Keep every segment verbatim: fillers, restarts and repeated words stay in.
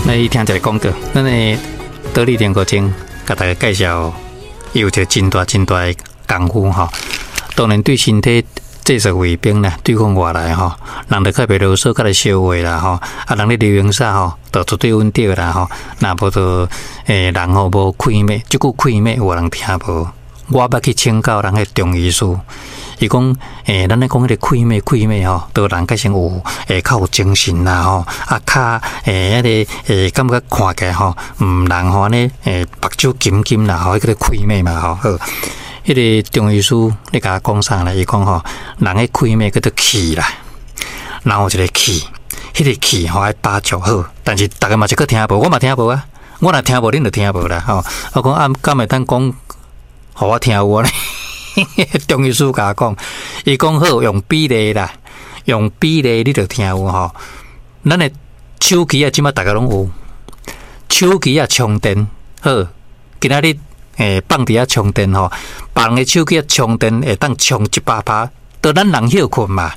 咱去聽一个廣告，咱的得力練骨精，共大家介紹，伊有一個真大真大的功夫吼。當然對身體製造衛兵啦，對抗外來吼，人就較袂囉嗦，較會消化啦吼。啊，人咧流行啥吼，就絕對穩定啦吼。若無就欸人吼無氣脈，這句氣脈有人聽無？我捌去請教人彼中醫師，伊講欸，咱咧講彼个氣脈氣脈吼，都人較先有會較有精神啦吼，啊較欸彼个欸感覺看起來吼，毋人吼按呢欸目睭金金啦吼，彼个氣脈嘛吼好。彼个中醫師咧共我講啥咧？伊講吼，人彼氣脈叫做氣啦，人有一个氣，彼个氣吼愛把握好，但是逐个嘛是閣聽無，我嘛聽無啊，我若聽無，恁就聽無啦吼。我講啊，敢會當講？予我聽有呢？中醫師共我講，伊講好用比例啦，用比例你就聽有吼。咱的手機啊，這馬逐个攏有手機啊，充電好，今仔日欸放佇遐充電吼，別人的手機啊充電會當充一百趴，就咱人歇睏嘛。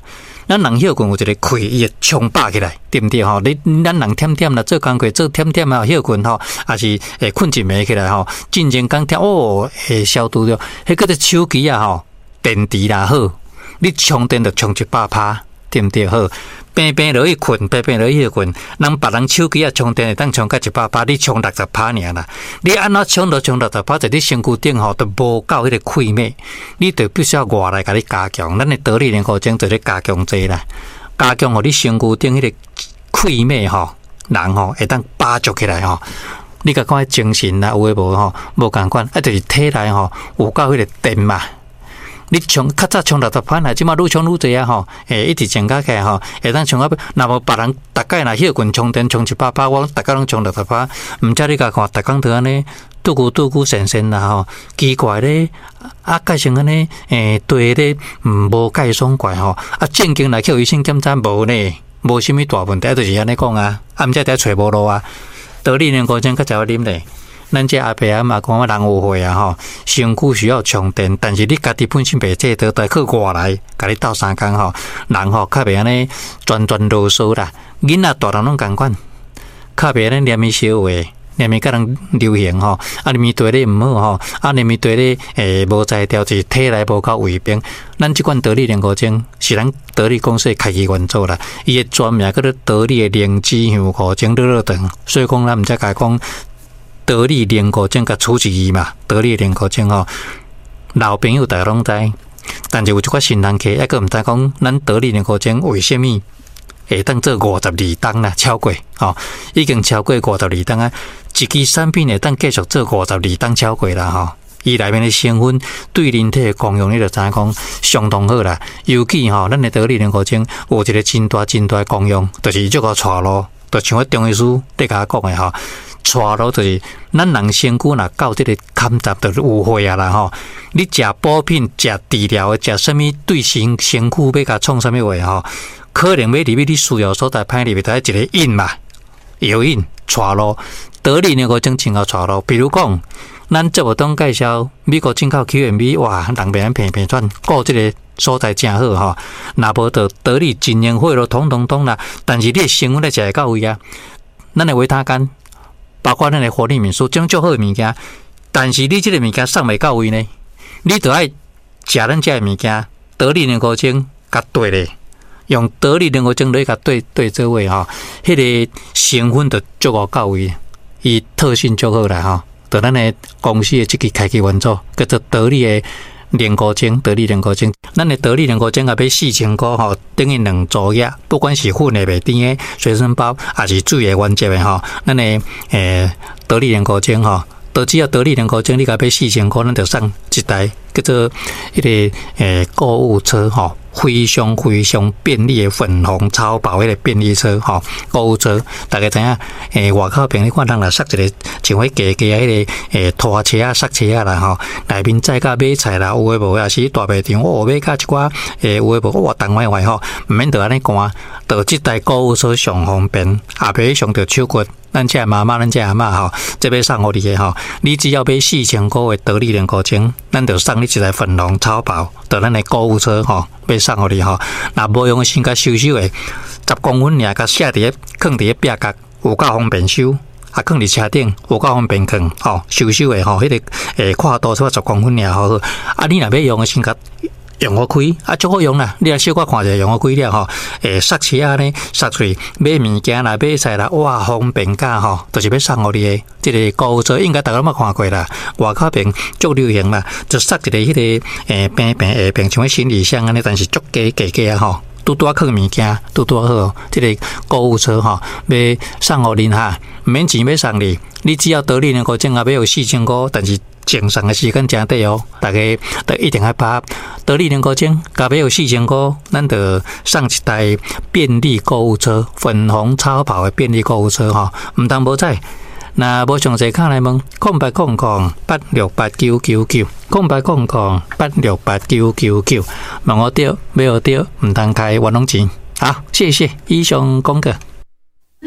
咱人歇睏有一个氣，伊會充飽起來，對毋對吼？你咱人忝忝啦，做工課做忝忝啊，歇睏吼，抑是會睏一暝起來吼，進前講忝哦，會消毒著。彼叫做手機啊吼，電池若好，你充電就充一百趴，對毋對？好，平平落去睏，平平落去歇睏，人別人手機啊充電會當充到一百趴，你充六十趴爾啦。你按怎充都充六十趴，在你身軀頂吼都無夠彼个氣脈，你就必須要外來共你加強。咱的得力練骨精就咧加強這啦，加強予你身軀頂彼个氣脈吼，人吼會當飽足起來吼。你共看精神啦，有的無吼，無仝款，啊，就是體內吼有夠彼个電嘛。你充較早充六十趴，這馬愈充愈濟啊吼！欸，一直增加起來吼，會當充到若無別人逐擺若歇睏充電充一百趴，我逐工攏充六十趴。毋才你共看，逐工都按呢，拄久拄久神神啦吼，奇怪咧，啊，改成按呢，欸，對咧，毋無介爽快吼，啊，正經來去予醫生檢查無呢，無啥物大問題，就是按呢講啊，啊，毋才佇遐揣無路啊，得力練骨精較才會啉咧。咱這阿伯阿嬤講，人有歲啊吼，身軀需要充電，但是你家己本身袂做到，得靠外來共你鬥相共吼，人吼較袂按呢專專囉嗦啦。囡仔大人攏仝款，較袂按呢連鞭相話，連鞭共人流行吼，啊，連鞭對你毋好吼，啊，連鞭對你欸無才調，就是體內無夠衛兵。咱這款得力練骨精是咱得力公司的開機元素啦，伊的專名叫做得力的靈芝香菇精乳酪糖，所以講咱毋才共講。得力練骨精共取一字嘛，得力練骨精吼，老朋友逐家攏知，但是有一寡新人客，抑閣毋知講，咱得力練骨精為啥物會當做五十二冬啦，超過吼，已經超過五十二冬啊！一支產品會當繼續做五十二冬超過啦吼，伊內面的成分對人體的功用，你就知影講相當好啦。尤其吼，咱的得力練骨精有一個真大真大的功用，就是這個帶路，就像我中醫師咧共我講的吼。帶路就是咱人身軀若到這个坎站，就是有歲啊啦吼。你食補品、食治療的、食啥物對身身軀欲共創啥物話吼，可能欲入去你需要所在歹入去，就愛一个引嘛，藥引帶路，得力練骨精真𠢕帶路。比如講，咱節目中介紹美國進口 Q M V，哇，人袂按平平轉，顧這个所在誠好吼。若無就得力真營血咯，通通通啦。但是你的成分咧食會到位啊，咱的維他乾。包括咱的活力敏素，這種足好的物件，但是你這个物件送袂到位呢？你就愛食咱這个物件，得力練骨精共對咧，用得力練骨精來共對對做伙吼，彼个成分就足夠到位，伊特性足好啦吼。就咱的公司的這支開機元素，叫做得力的練骨精，得力練骨精。咱的得力練骨精啊，買四千箍吼，等於兩組額，不管是粉的袂甜的隨身包，抑是水的原汁的吼，咱的欸得力練骨精吼，都只要得力練骨精，你共買四千箍，咱就送一台叫做彼个欸購物車吼，非常非常便利的粉紅超薄彼个便利車吼，購物車，大家知影？欸，外口朋友看人若塞一个像彼加加彼个欸拖車啊、塞車啊啦吼，內面載甲買菜啦，有的無的，抑是大賣場哦，買甲一寡欸有的無，哇，重歪歪吼，毋免著按呢搬，著這台購物車上方便，也袂傷著手骨。咱這媽媽，咱這阿嬤吼，這欲送予你的吼，你只要買四千箍的得力練骨精，咱就送你一台粉紅超薄，就咱的購物車吼，欲送予你吼。若無用的先共收收的，十公分爾，共卸佇咧，囥佇咧壁角，有夠方便收，啊，囥佇車頂有夠方便囥，吼，收收的吼，彼個欸闊度才十公分爾好。啊，你若欲用的先共用予開，啊，足好用啦。你若小可看一下用予開了吼，欸，捒車仔呢，捒出去買物件啦，買菜啦，哇，方便甲吼，就是欲送予你的。這个購物車應該逐家攏捌看過啦，外口邊足流行啦，就捒一个彼个欸平平下邊像彼行李箱按呢，但是足低低低仔吼。拄拄仔囥物件，拄拄好。這个購物車吼，欲送予恁哈，毋免錢欲送你，你只要得利認購證啊，欲予四千箍，但是贈送的時間誠短哦，大家都一定愛把握得利認購證，共欲予四千箍，咱就送一台便利購物車，粉紅超跑的便利購物車吼，毋通無彩。若無詳細，敲來問空八空空八六八九九九，空八空空八六八九九九，問予著，買予著，毋通開冤枉錢。好，謝謝，以上廣告。